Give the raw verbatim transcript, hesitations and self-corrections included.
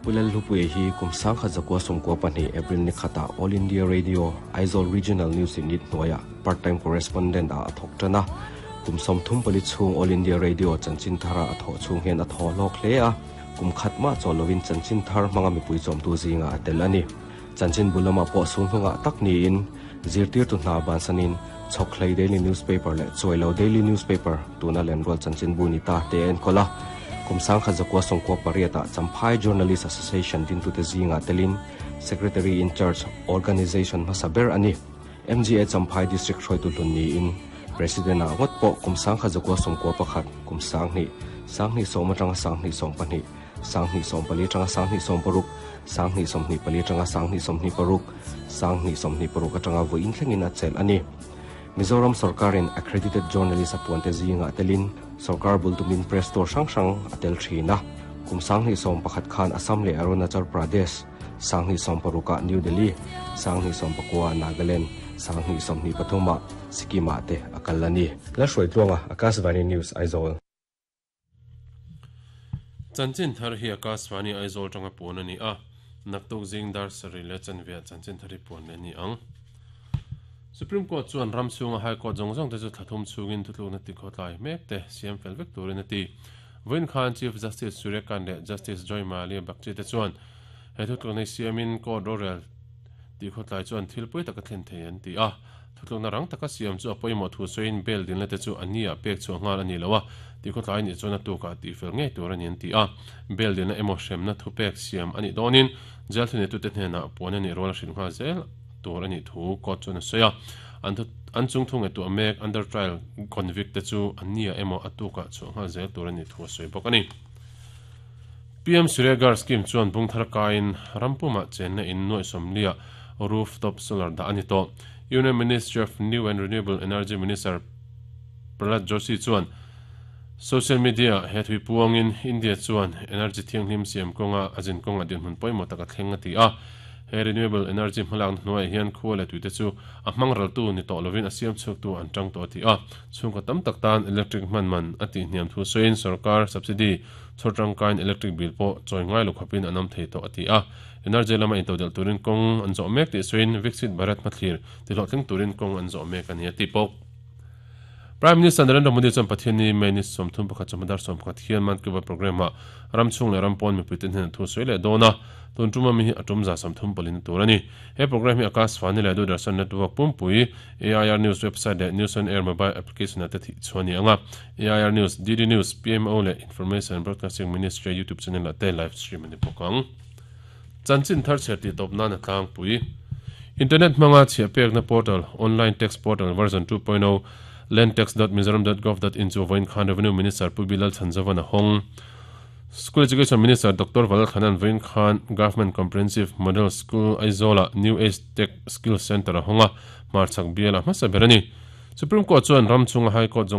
Pu Lalhlupuia hi kum sangkhat zakua sawmkua pahnih April ni khatah All India Radio Aizawl Regional News Unit hnuaiah part-time correspondent ah a thawk tan a. Kum sawmthum pali chhung All India Radio chanchin thara a thawh chhung hian a thaw hlawk hle a. Kum khat mah chawl lovin chanchin thar hmanga mipui chawmtu zinga a tel a ni. Chanchin bu lamah pawh sul hnungah tak niin zirtirtu hna bansanin Chhawkhlei Daily Newspaper leh Chuailo Daily Newspaper tuna Lenrual chanchin bu ni ta te a enkawl a. Kum sangkhat zakua sawmkua pariatah Champhai Journalist Association dintute zingah telin Secretary in Charge Organisation hmasa ber a ni. M G A Champhai District hruaitu hlun niin President ah ngawt pawh kum sangkhat zakua sawmkua pakhat, kum sanghnih, sanghnih sawm atanga sanghnih sawm pahnih, sanghnih sawm pali atanga sanghnih sawm paruk, sanghnih sawmhnih pali atanga sanghnih sawmhnih paruk, sanghnih sawmhnih paruk atanga vawiin thlengin a chelh a ni. Mizoram sorkarin accredited journalist a puante zingah telin sorkar bultumin press tour hrang hrang a tel thin a. Kum sanghnih sawm pakhat khan Assam leh Arunachal Pradesh, sanghnih sawm parukah New Delhi, sanghnih sawm pakua Nagaland, sanghnih sawmhnih pathumah Sikkimah te a kal a ni. Lalhruaitluanga, Akashvani News, Aizawl. Chanchin thar hi Akashvani Aizawl tanga puan a ni a. Naktuk zing dar sarih leh chanve chanchin thar hi puan leh ni ang. Supreme Court chuan ram chhunga High Court zawng zawng te chu thlathum chhungin thutlukna ti khawtlai mek te siam fel vek turin a ti. Vawiin khan Chief Justice Surya Kant leh Justice Joymalya Bagchi te chuan he thutlukna siamin court rorel ti khawtlai chuan thil pui taka thlen thei an ti a. Thutlukna rang taka siam chu a pawimawh thu sawiin bail dilna te chu ani a pek chu nghal ani lo a, ti khawtlai ni chuan a tuka ti fel ngei tur ani an ti a. Bail dilna emaw hremna thu pek siam ani dawnin jail thuni tu te hnenah puan ani rual hrilh nghal zel tur ani thu court chuan a sawi a. An thu an chung thung e tu mek under trial convict te chu ania emaw atuka chu nghal zel tur ani thu a sawi bawk ani. P M Surya Ghar scheme chuan bungthar kain rampuma chenna in nuai somlia rooftop solar da ani to. Union Ministry of New and Renewable Energy Minister Prahlad Joshi chuan social media he thui puangin India chuan energy thianghlim siam kawnga azin kawnga din hun pawimawh taka thleng a ti a. He renewable energy hmalak hnuai hian khual leh tuite chu a hmang ral tu ni tawh lovin a siam chhuak tu an tang tawh ti a. Chhungkaw tam tak tan electric hman man a ti hniam thu sawiin sarkar subsidy chhawr tangkain electric bill pawh chawi ngai lo khawpin an awm thei tawh a ti a. Energy lama intodel turin kawng an zawh mek tih sawiin Viksit Bharat hmathlir ti hlawhtling turin kawng an zawh mek ani a ti bawk. Prime Minister Narendra Modi chuan Pathianni May ni sawmthum pakhat chawhmadar sawm pakhat hian Man Ki Baat program ah ramchhung leh rampawn mipuite hnen thu sawi leh dawn a. Tun tuma mi hi a tum za sawmthum palin tur ani. He program hi Akashvani leh Doordarshan network pumpui, A I R News website leh News on Air mobile application ate thi chuani anga. A I R News, D D News, P M O leh Information and Broadcasting Ministry YouTube channel ate live stream ani bawk ang. Chanchin thar chher ti tawp nan a tlangpui. Internet hmanga chhia pekna portal, Online Tax Portal version two point zero, landtax dot mizoram dot gov dot in chu vawiin khan Revenue Minister Pu Bilal Chanzavan a hawng. School Education Minister Doctor Valal Khanan vawiin khan Government Comprehensive Model School Aizawla New Age Tech Skill Center a hawnga, hmarchhak biala hmasa ber ani. Supreme Court chuan ram chunga High Court zawng